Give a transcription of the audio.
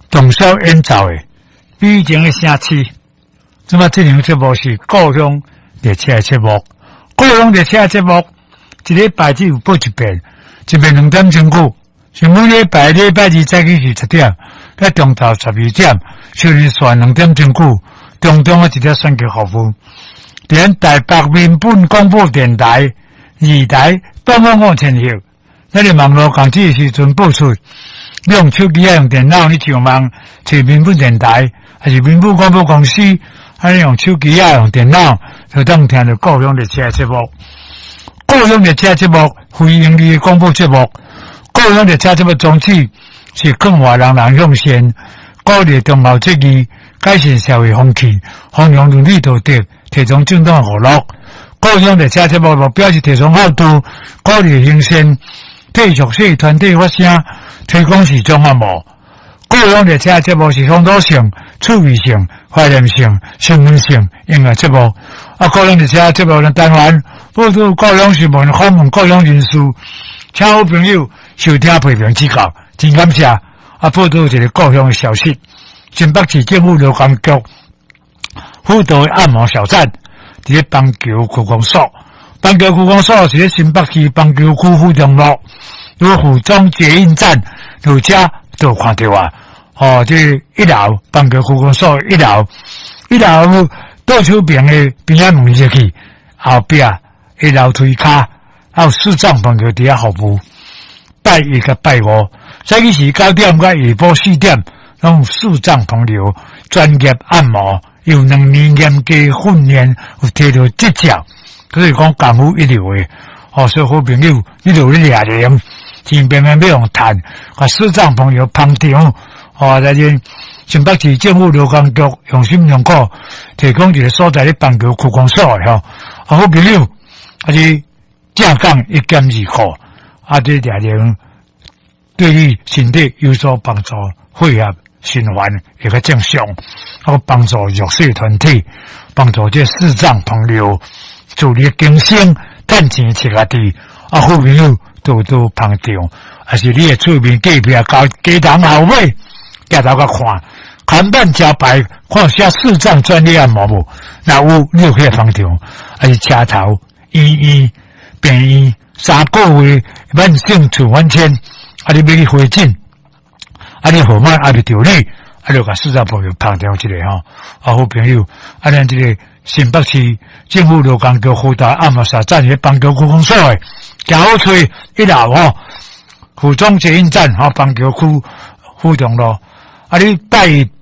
動手演奏的美情的城市。這擺這檔節目是故鄉列車的節目，故鄉列車的節目，一禮拜只有播一遍，一遍2點鐘久。是每禮拜禮拜二早起是7點，到中晝12點，收聽線兩點鐘久，中中的一條選購服務。佇咱台北民本廣播電台二台東方5千赫，咱的網路網址時陣播出，你用手機啊，用電腦，你上網揣民本電台，還是民本廣播公司，啊，你用手機啊，用電腦，就當聽著故鄉列車節目。故鄉列車節目，非營利的廣播節目。故鄉列車節目宗旨是勸話人人向善，鼓勵忠孝節義，改善社會風氣，弘揚倫理道德，提倡正當娛樂。故鄉列車節目目標是提倡孝道，鼓勵行善，替弱勢團體發聲，推廣視障按摩。故鄉列車節目是風土性、趣味性、懷念性、新聞性音樂節目。啊，故鄉列車節目的單元報導故鄉新聞，訪問故鄉人士，請好朋友收聽批評指教，真感謝。啊，報導一个故鄉的消息：新北市政府勞工局輔導的按摩小站，佇咧板橋區公所。板橋區公所是咧新北市板橋區府中路，有府中捷運站，落車就看著啊。哦，這一樓板橋區公所一樓，一樓倒手邊的邊仔門入去，後壁一樓梯跤，還有視障朋友佇遐服務。拜一佮拜五，早起時9點到下晡4點，攏有視障朋友專業按摩，有2年嚴格訓練，有提著執照，所以講功夫一流的。哦，所以好朋友，你著咧掠人，錢平平欲予趁，共視障朋友捧場。哦，來自新北市政府勞工局用心良苦，提供一个所在咧板橋區公所的吼。啊，好朋友，啊是正港一減二箍。啊，這掠人對你身體有所幫助，血液循環會較正常，啊，幫助弱勢團體，幫助這視障朋友自力更生，趁錢飼家己。啊，好朋友多多捧場，還是你的厝邊隔壁交街頭後尾，行頭較看，看板招牌看寫視障專業按摩無？若有，你就可以捧場，還是車頭醫院病院。3個月慢性處方簽，啊！你欲去回診，啊！你號碼還袂著你，啊！就共視障朋友捧場一下吼，啊！好朋友，啊！咱這个新北市政府勞工局輔導按摩小站咧板橋區公所的，誠好揣一樓吼，府中捷運站吼，板橋區府中路，啊！你拜。